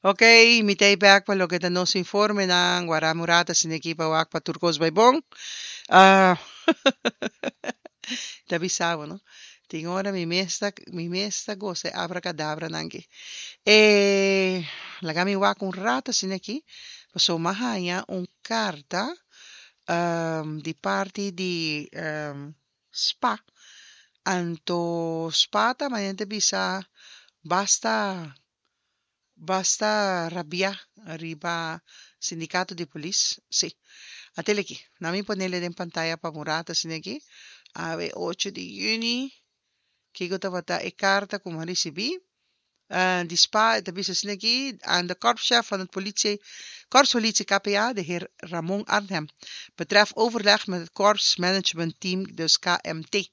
Ok, mi ta ei bek pa loke ta nos informenan. Wara mi un rato asina aki pa wak pa tur kos bai bon. Ah, ta bisa bo, no? Tin ora mi mes ta, mi mes ta gosa e abracadabranan aki. E laga mi wak un rato asina aki, pasobra mi a haña un karta di parti di Spa. Anto spa ta manera ta bisa basta basta rabiá riba sindikato di polis. Sí. Atel aki. Na mi ponele den pantaya pa un rato asina aki. Awe ocho di yüni. Kiko tabata e karta ku mi a risibí? Di spa e ta bisa asina aki, Aan de korpschef van het politie, Korpspolitie KPA, de heer Ramon Arnhem, betreft overleg met het Korpsmanagementteam, dus KMT.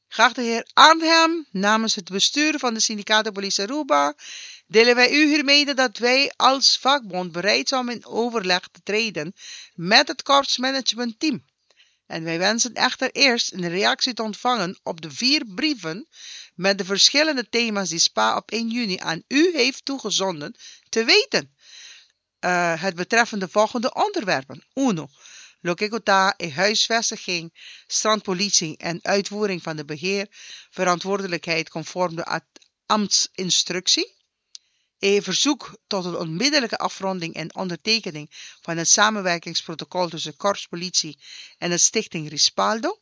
Geachte heer Arnhem, namens het bestuur van de Sindicato Politie Aruba, delen wij u hier mede dat wij als vakbond bereid zijn om in overleg te treden met het Korpsmanagementteam. En wij wensen echter eerst een reactie te ontvangen op de vier brieven met de verschillende thema's die SPA op 1 juni aan u heeft toegezonden te weten. Het betreffende de volgende onderwerpen. 1. Loke ku ta e huisvestiging, strandpolitie en uitvoering van de beheerverantwoordelijkheid conform de ambtsinstructie. E verzoek tot een onmiddellijke afronding en ondertekening van het samenwerkingsprotocol tussen Korpspolitie en de Stichting Rispaldo.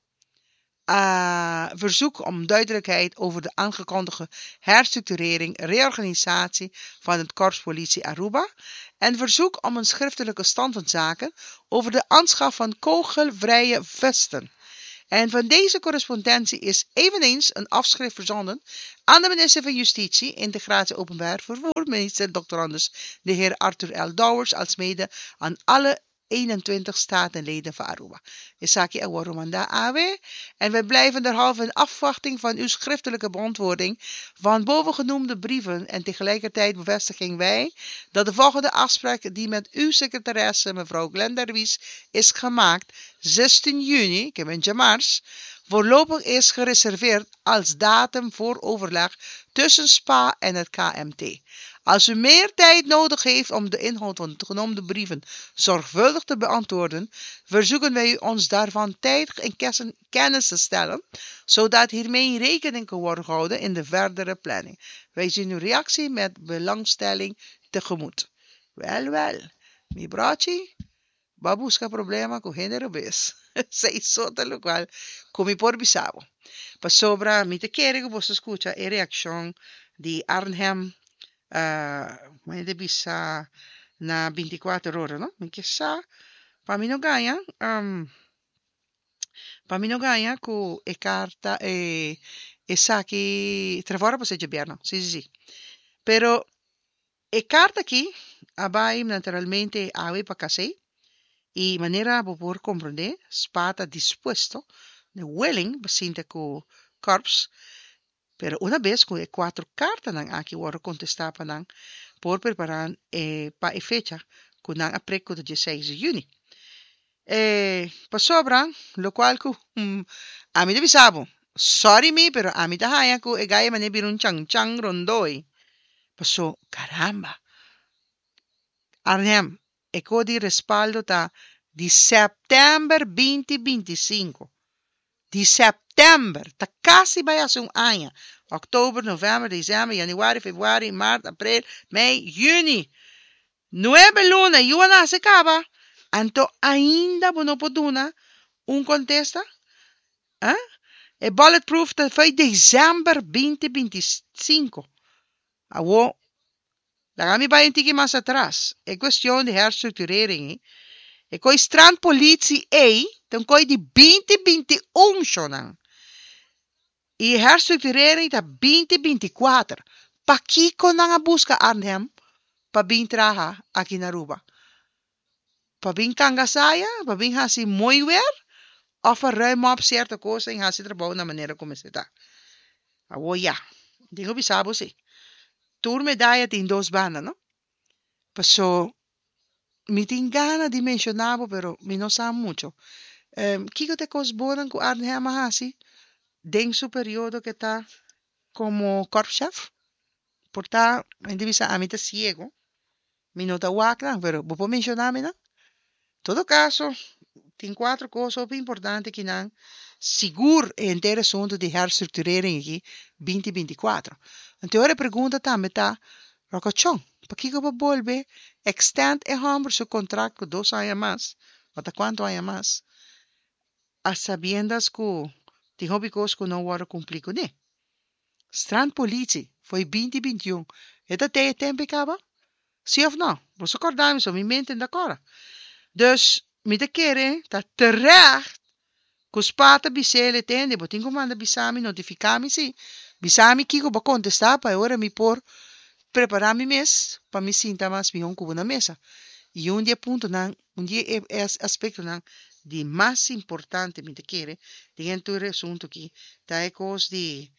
Verzoek om duidelijkheid over de aangekondigde herstructurering, reorganisatie van het Korpspolitie Aruba. En verzoek om een schriftelijke stand van zaken over de aanschaf van kogelvrije vesten. En van deze correspondentie is eveneens een afschrift verzonden aan de minister van Justitie, Integratie Openbaar Vervoer, minister Dr. Anders, de heer Arthur L. Dowers, alsmede aan alle 21 statenleden van Aruba. Esaki a wòrdu mandá awe en wij blijven derhalve in afwachting van uw schriftelijke beantwoording van bovengenoemde brieven en tegelijkertijd bevestigen wij dat de volgende afspraak die met uw secretaresse mevrouw Glenda Ruiz is gemaakt 16 juni, ik ben djamars, voorlopig is gereserveerd als datum voor overleg tussen SPA en het KMT. Als u meer tijd nodig heeft om de inhoud van de genoemde brieven zorgvuldig te beantwoorden, verzoeken wij u ons daarvan tijdig in kennis te stellen, zodat hiermee rekening kan worden gehouden in de verdere planning. Wij zien uw reactie met belangstelling tegemoet. Wel, wel, mi brochi, bo a buska problema ku hende robes. Esei so ta lokual ku mi por bisa bo. Pasobra mi ta kere ku boso skucha e reakshon di Arnhem, mi ta bisa na bintikuater ora, no? Mi ke sa pa mi no gaña, pa mi no gaña ku e karta, e esaki, Trevor a pas'é djabièrnè, si, si, si. Pero E karta aki a bai naturalmente awe pa Casey i manera bo por komprondé spa ta dispuesto, willing, pa sinta ku Korps, pero una bes ku e kuatro kartanan aki wòrdu kontestá pa nan por prepará e pa e fecha ku nan a prek ku ta dieseis di yüni. E pasobra lokual ku ami ta bisa bo, sòri mi pero ami ta haña ku e gai manera bira un chan chan rondoi. Paso, caramba! Arnhem, e ko di respaldo ta di sèptèmber binti binti i sinku. Di sèptèmber! Ta kasi bai hasi un aña. Òktober, novèmber, desèmber, yanüari, febrüari, mart, aprel, mei, yüni. Nuebe luna, yu a nase kaba! Anto ainda bo no por duna un kontesta? Ah? E bulletproof ta foi desèmber binti binti i sinku. Awor, laga mi bai un tiki mas atras. E kuestion di herstructurering ei, e koi strandpolitie ei ta un koi di binti binti i un, shonnan. I e herstructurering ta binti binti i kuater. Pakiko nan a buska Arnhem pa bin traha aki na Aruba? Pa bin kanga saya, pa bin hasi mooi weer, of pa ruim op cierto cosa en hasi trabou na manera cu mester ta? Awor ya, tin cu bisa bo si, tur medaya tin dos banda, no? Paso, mi tin gana di menciona bo, pero mi no sa mucho. Kico ta e cos bonan cu Arnhem a hasi den su periodo cu e ta como korpschef? Por ta, mi ta bisa ami ta ciego. Mi no ta wak nan, pero bo por menshoná mi nan? Todo kaso, tin kuater kos hopi importante akinan, sigur e henter asuntu di herstructurering aki binti 24. Anto e ora e pregunta tambe ta, Ròkòchon, pakiko bo bolbe extend e hòmber su kontrakt ku dos aña mas, o ta kuantu aña mas, a sabiendas ku tin hopi kos ku no wòrdu kumplí kuné? Strandpolitie, fo'i 2021, e ta tei e tempu ei kaba? Sí òf nò? Boso kòrda mi, so mi mente no ta kòrda. Dus, mi ta kere ta terecht ku spa ta bis'el e tende, bo tin ku manda bisa mi, notifiká mi sí, bisa mi kiko bo a kontestá pa e ora mi por prepará mi mes pa mi sinta mas mihó ku bo na mesa. I un di e puntonan, un di e aspektonan di mas importante mi ta kere den tur e asuntu aki ta e kos di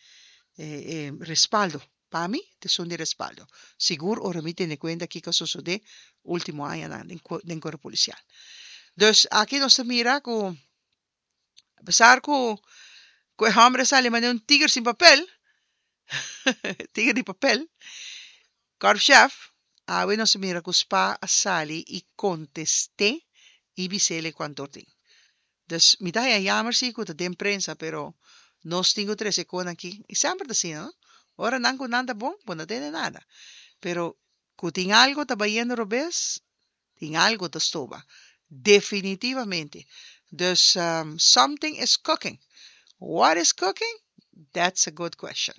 e respaldo. Pa mi ta esun di respaldo. Sigur ora mi tene kuenta kiko a sosodé último añanan den kuerpo polisial. Dus aki nos ta mira ku apesar ku ku e hòmber a sali manera un tiger sin papel, tiger di papel, Korpschef, awe nos a mira ku spa a sali i kontest'é i bis'el e kuantor tin. Dus mi ta haña yamer si ku ta den prensa pero nos tin ku trese kon aki i semper ta asina no. Ora nan ku nan ta bon bo no tende nada pero ku tin algo ta bayendo robes tin algo ta stoba definitivamente. Dus something is cooking what is cooking that's a good question.